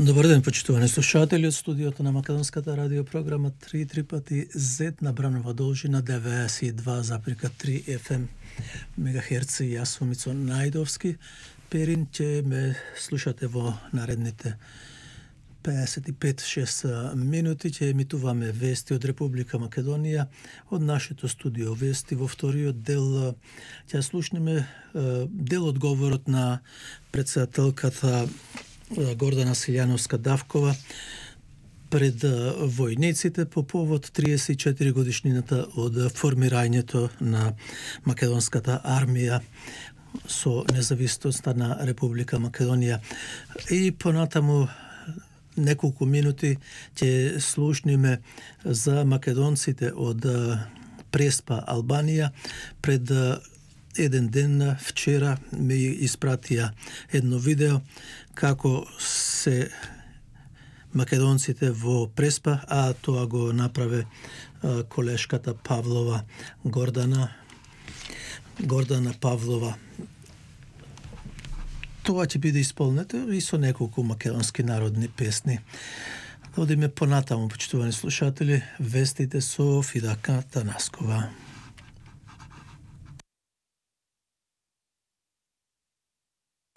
Добар ден, почитувани слушатели од студиото на Македонската радиопрограма 3 пати Z на Бранова должина 92,3 FM мегахерци. Јас сум Мицо Најдовски. Перин ќе ме слушате во наредните 55-6 минути. Ќе емитуваме вести од Република Македонија од нашето студио вести. Во вториот дел ќе слушнеме дел одговорот на председателката Гордана Силјановска-Давкова пред војниците по повод 34 годишнината од формирањето на македонската армија со независноста на Република Македонија. И понатаму неколку минути ќе слушниме за македонците од Преспа, Албанија. Пред еден ден вчера ми испратија едно видео како се македонците во Преспа, а тоа го направи колешката Павлова, Гордана Павлова. Тоа ќе биде исполнето и со неколку македонски народни песни. Одиме понатаму, почитувани слушатели, вестите со Фидака Танаскова.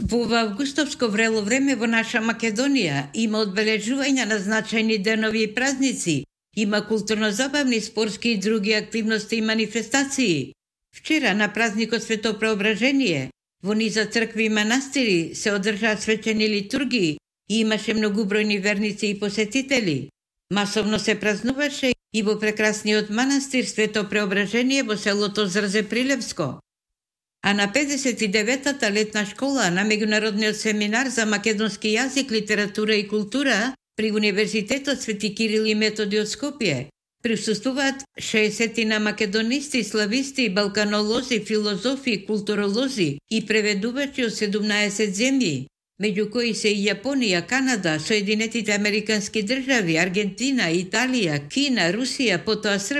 Во августовско врело време во наша Македонија има одбележување на значајни денови и празници, има културно-забавни, спортски и други активности и манифестации. Вчера на празникот Свето Преображение во низа цркви и манастири се одржаа свечени литургии и имаше многубројни верници и посетители. Масовно се празнуваше и во прекрасниот манастир Свето Преображение во селото Зрзе Прилевско. А на 59-та летна школа на Меѓународниот семинар за македонски јазик, литература и култура при Универзитетот Свети Кирил и Методи од Скопје присуствуваат 60 македонисти, слависти, балканолози, филозофи, културолози и преведувачи од 17 земји, меѓу кои се и Јапонија, Канада, Соединетите Американски држави, Аргентина, Италија, Кина, Русија, потоа Србија.